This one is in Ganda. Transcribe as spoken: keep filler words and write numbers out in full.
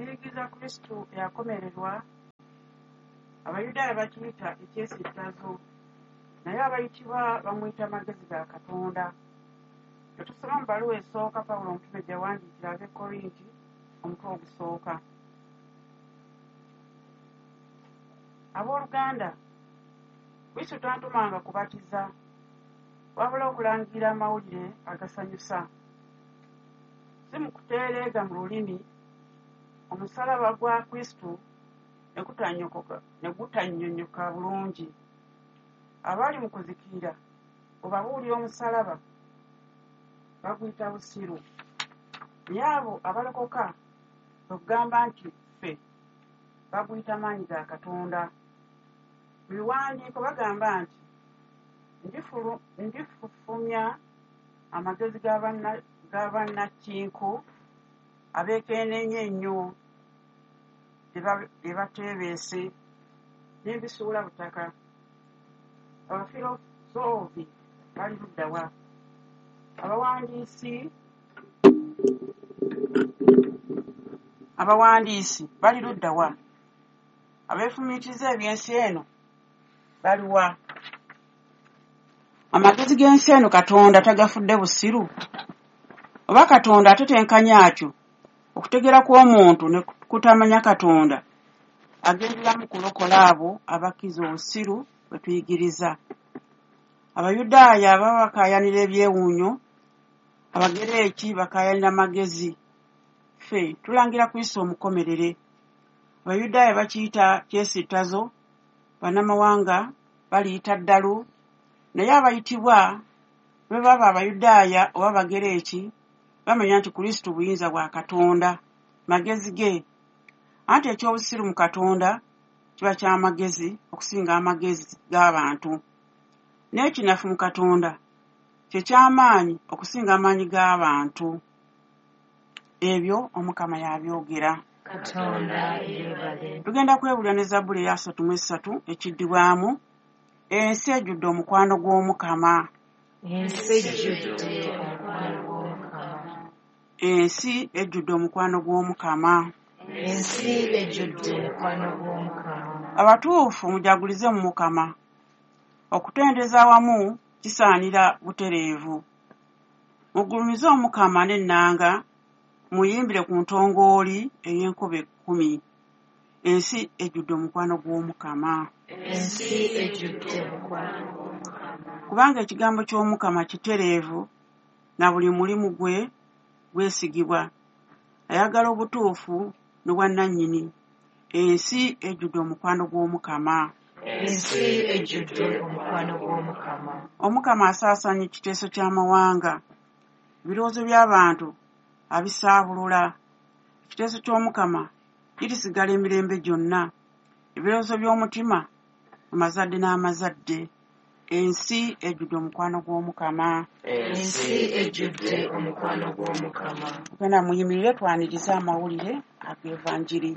Tuyigiriza Kristo eyakomererwa, Abayudaaya bakiyita ekyesittazo, naye abayitibwa bamuyita magezi ga Katonda. Tetusoma mu bbaluwa esooka Pawulo omutume gye yawandiikira ab'e Korinti omutwe ogusooka. Abooluganda, Kristo tantumanga kubatiza, wabula okulangirira amawulire agasanyusa. Si mu kutereega mu lulimi, omusaalaba gwa Kristo ne gutannyonnyoka bulungi. Abali mu kuzikirira bw'obabuulira omusaalaba baguyita busiru. Naye abo abalokoka kwe kugamba nti ffe baguyita maanyi ga Katonda. Mu biwandiiko bagamba nti ndifufumya amagezi ga bannakinku abeekenneenya ennyo bye bateebeese ne mbisuula butaka. Abafirosoofi bali ludda wa? Abawandiisi abawandiisi bali ludda wa? Abeefumiitiriza eby'ensi eno baluwa? Amagezi g'ensi eno Katonda tagafudde busiru? Oba Katonda atetenkanya atyo okutegeera kw'omuntu ne kutamanya Katonda agenderamu kulokola abo abakkiriza obusiru bwe tuyigiriza. Abayudaaya baba bakaayanira ebyewuunyo, Abagereeki bakaayanira magezi. Ffe tulangira Kristo omukomerere. Abayudaaya bakiyita kyesittazo, bannamawanga baliyita ddalu, naye abayitibwa bwe baba Abayudaaya oba Abagereeki bamanya nti Kristo buyinza bwa Katonda, magezi ge. Anti eky'obusiru mu Katonda kiba ky'amagezi okusinga amagezi g'abantu, n'ekinafu mu Katonda kye ky'amaanyi okusinga amaanyi g'abantu. Ebyo Omukama y'abyogera. Katonda yeebale. Tugenda kwebuulira ne Zabbuli eya asatu mu essatu ekiddibwamu ensi ejjudde omukwano gw'Omukama. Ensi ejjudde omukwano gw'Omukama. Ensi ejjudde omukwano gw'Omukama. Ensi ejjudde omukwano gw'Omukama. Abatuufu mujagulize mu Mukama. Okutendereza awamu kisaanira butereevu. Mugulumize Omukama n'ennanga, muyimbire ku ntongooli ey'enkoba ekkumi. Ensi ejjudde omukwano gw'Omukama. Ensi ejjudde omukwano gw'Omukama. Kubanga ekigambo ky'Omukama kitereevu, na buli mulimu gwe gwesigibwa. Ayagala obutuufu n'obwannannyini. Ensi ejjudde omukwano gw'Omukama. Ensi ejjudde omukwano gw'Omukama. Omukama asaasaanya ekiteeso ky'amawanga. Ebirowoozo by'abantu abisaabulula. Ekiteeso ky'Omukama kirisigala emirembe gyonna. Ebirowoozo by'omutima mu mazadde n'amazadde. Ensi ejjudde omukwano gw'Omukama. Ensi ejjudde omukwano gw'Omukama. Tugenda muyimirire twanirize amawulire ag'Evanjiri.